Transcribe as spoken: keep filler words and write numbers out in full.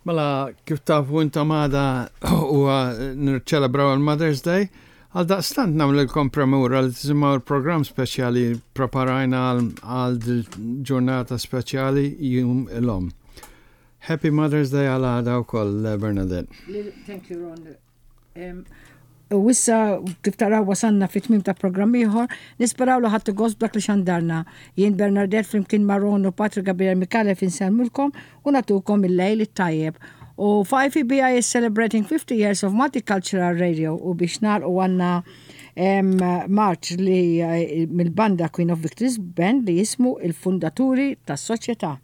Mela, kif tafu intom, għada huwa nirċelebraw il-Mother's Day, għal daqstant nagħmlilkom premura li tisimgħu il-programm speċjali preparajna għal ġurnata speċjali, Jum l-Omm. Happy Mother's Day għal għada wkoll, Bernadette. Thank you, Ron. U issa, kif taraw, wasanna fit tmim ta' programm ieħor. Nisperaw li ħadtu gost b'dak li xandarna. Jien Bernadette flimkien ma' Ron u Patrick Gabriel Mikale insellmulkom u nagħtukom il-lejl it-tajjeb. U five E B I is celebrating fifty years of multicultural radio u biex u għandna marċ li eh, mill-banda Queen of Victories Band li jismu Il-Fundaturi tas-Soċjetà.